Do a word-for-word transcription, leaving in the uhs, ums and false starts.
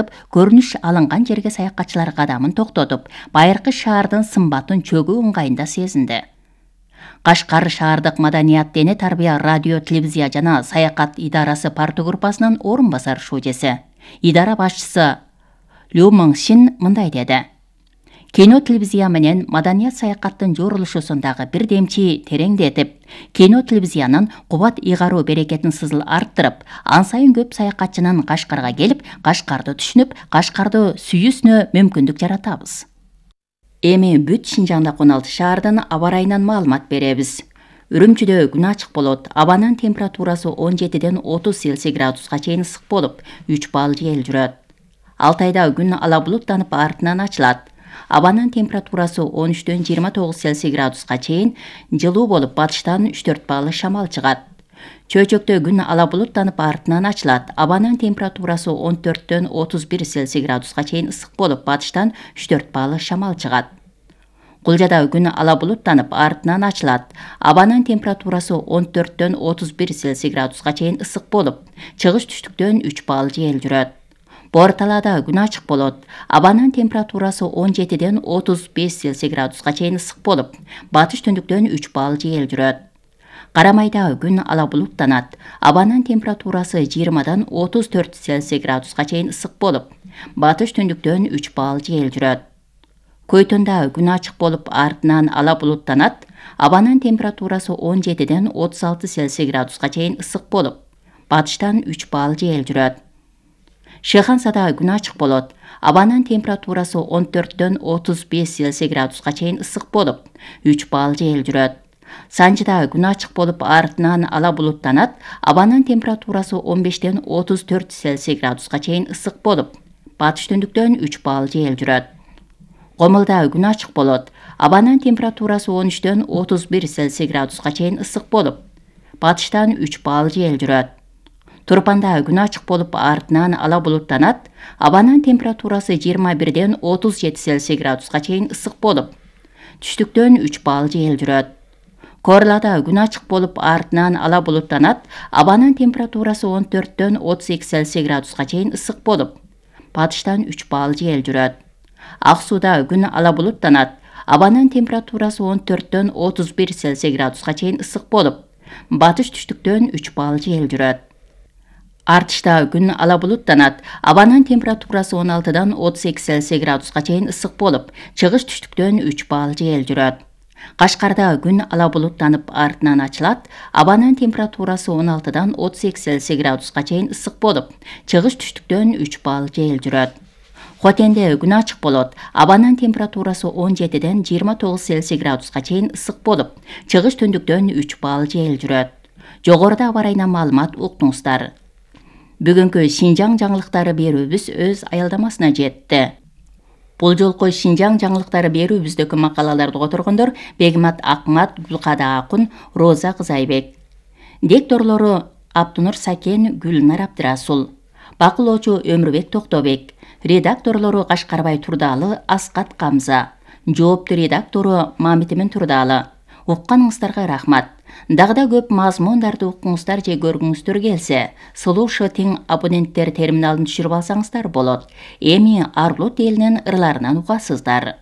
көрүнүш алынган жерге саякатчылар кадамын токтотуп, байыркы шаардын сымбатын чөгүү ыңгайында сезинди. Кашкар шаардык маданият, дене тарбия, радио, телевизия жана саякат идарасы партия группасынын орун басар шужеси, идара башчысы Лю Мыңшин мындай деди: кино, телевизия менен маданият саякаттын жорулушусундагы бир демчи тереңдетип, кино, телевизиянын кубат ыйгаруу берекетин сызыл арттырып, ан сайын көп саякатчынын Кашкарга келип, Кашкарды түшүнүп, Кашкарды сүйүүсүнө мүмкүндүк жаратабыз. Эми бүт Шинжаңдагы он алты шаардын аба ырайынан маалымат беребиз. Үрүмчүдө күн ачык болот. Абанын температурасы он жетиден отуз Цельсий градуска чейин ысык болуп, үч балл жел жүрөт. Алтайда күн ала булуттанып артынан ачылат. Абанын температурасы он үчтөн жыйырма тогуз Цельсий градуска чейин жылуу болуп, батыштан үч төрт балл шамал чыгат. Чөйчөктө күн ала булуттанып артынан ачылат. Абанын температурасы он төрттөн отуз бир Цельсий градуска чейин ысык болуп, батыштан үч төрт балл шамал чыгат. Кулжада күн ала булуттанып артынан ачылат. Абанын температурасы он төрттөн отуз бир Цельсий градуска чейин ысык болуп, чыгыш түштүктөн үч балл жел жүрөт. Борталада күн ачык болот. Абанын температурасы он жетиден отуз беш Цельсий градуска чейин ысык болуп, батыш түндүктөн үч балл жел жүрөт. Карамайда күн ала булуттанат. Абанын температурасы жыйырмадан отуз төрт Цельсий градуска чейин ысык болуп, батыш түндүктөн үч балл жел жүрөт. Көйтөндө күн ачык болуп, артынан ала булуттанат. Абанын температурасы он жетиден отуз алты Цельсий градуска чейин ысык болуп, батыштан үч балл жел жүрөт. Шыхансада күн ачык болот. Абанын температурасы он төрттөн отуз беш Цельсий градуска чейин ысык болуп, үч балл жел жүрөт. Санжыда күн ачык болуп, артынан ала булуттанат. Абанын температурасы он бештен отуз төрт Цельсий градуска чейин ысык болуп, батыш түндүктөн үч балл жел жүрөт. Комулда күн ачык болот. Абанын температурасы он үчтөн отуз бир Цельсий градуска чейин ысык болуп, батыштан үч балл жел жүрөт. Турпанда күн ачык болуп, артынан ала булуттанат. Абанын температурасы жыйырма бирден отуз жети Цельсий градуска чейин ысык болуп, түштүктөн үч балл жел жүрөт. Корлада күн ачык болуп, артынан ала булуттанат. Абанын температурасы он төрттөн отуз эки Цельсий градуска чейин ысык болуп, батыштан үч балл жел жүрөт. Ак сууда күн ала булуттанат. Абанын температурасы он төрттөн отуз бир Цельсий градуска чейин ысык болуп, батыш түштүктөн үч балл жел жүрөт. Артышта күн ала булуттанат. Абанын температурасы он алтыдан отуз эки Цельсий градуска чейин ысык болуп, чыгыш түштүктөн үч балл жел жүрөт. Кашкарда күн ала булуттанып, артынан ачылат. Абанын температурасы он алтыдан отуз эки Цельсий градуска чейин ысык болуп, чыгыш түштүктөн үч балл жел жүрөт. Хотенде күн ачык болот. Абанын температурасы он жетиден жыйырма тогуз Цельсий градуска чейин ысык болуп, чыгыш түндүктөн үч балл жел жүрөт. Жогоруда аба ырайынан маалымат уктуңуздар. Бүгүнкү Шинжаң жаңылыктары берүүбүз өз аялдамасына жетти. Бул жолку Шинжаң жаңылыктары берүүбүздөгү макалаларды которгондор Бегмат Акмат, Гүлкада Акун, Роза Кызайбек. Дикторлору Аптунур Сакен, Гүлнар Абдырасул. Бакылоочу Өмүрбек Токтобек. Редакторлору Кашкарбай Турдалы, Аскат Камза. Жооптуу редактору Мамитимин Турдалы. Укканыңыздарга рахмат. Дагы да көп мазмундарды уккуңуздар же көргүңүздөр келсе, Слуша тең абоненттер терминалын түшүрүп алсаңыздар болот. Эми Арлут элинин ырларынан угасыздар.